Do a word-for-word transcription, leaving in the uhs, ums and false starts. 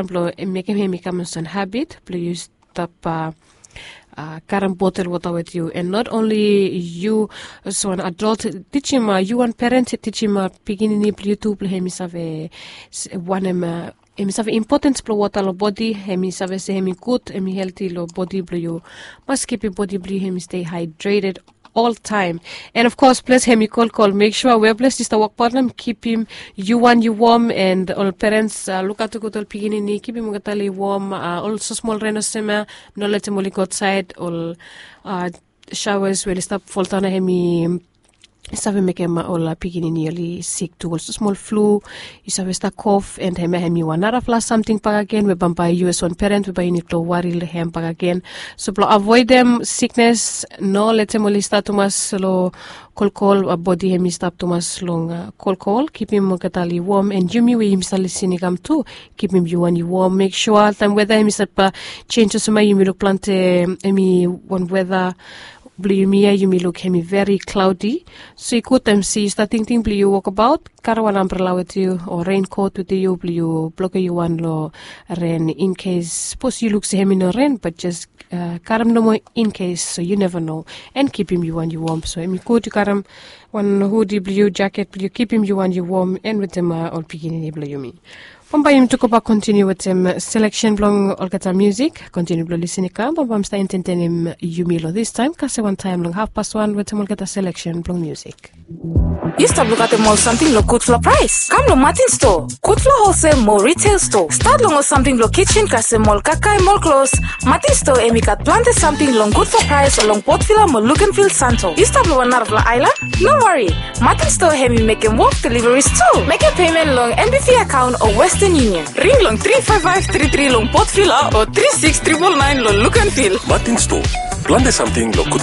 blong mekem hem i kam olsem habit blong yu stap karem botel wota wit yu, and not only yu olsem wan adult, tijim yu wan parent, tijim pikinini blong yu tu blong hem i save wanem, hem i save impotens blong wota long bodi, hem i save se hem i gud, hem i helti long bodi blong yu. Mas kipim bodi blong yu hem i stei haedreted oltaem. And of course ples hem i kolkol, mek sua wea ples yu stap wokbaot long hem kipim yu wan yu wom, and ol parents, lukaoto gud ol pikinini, kipim olgeta long wom. Ol smosmol ren olsem ya, no letem oli go ausaed, ol showers we oli stap foldaon ya hem i save mekem ol pikinini oli sik tu, ol smosmol flu, yu save stap kof, and hemia hem i wan narafala samting bakegen we bambae yu as wan parent we bae yu nid blong wari long hem bakegen. So blong avoedem siknes, no letem oli stap tumas long kolkol, bodi hem i stap tumas long kolkol. Kipim olgeta oli wom, and yumi we yumi stap lisin i kam tu, kipim yu wan yu wom. Mek sua taem weta hem i stap jenj olsem ya, yumi luk plante hem i wan weta blong yumi ya, yumi luk hem i veri klaodi. So i gud taem se yu stap tingting blong yu wokbaot, karem wan ambrela wit yu o renkot wit yu blong yu blokem yu wan long ren, in case sapos yu luk se hem i no ren, bat jes karem nomo in case, so yu neva no. And kipim yu wan yu wom, so hem i gud yu karem wan hudi blong yu, jaket blong yu, kipim yu wan yu wom, and wetem ol pikinini blong yumi. Bambae yumi tu gobak kontiniu wetem seleksen blong olgeta musik. Kontiniu blong lisin i kam, bambae mi stap entetenem yumi long distaem kasem wantaem long hafpas wan wetem olgeta seleksen blong musik. Yu stap lukaotem ol samting long gudfala praes? Kam long Martin Store, gudfala holsel mo retail store. Stat long ol samting blong kijen kasem ol kakae mo ol klos, Martin Store hem i gat plante samting long gudfala praes long Port Vila mo Luganville, Santo. Yu stap long wan narafala aelan? No wari, Martin Store hem i mekem wok deliveries tu. Mekem pemen long NBV akaon o Western Union. Ring long tri five five tri tri long Port Vila o tri six triple nine long Luganville. Martin Store, plante samting long gud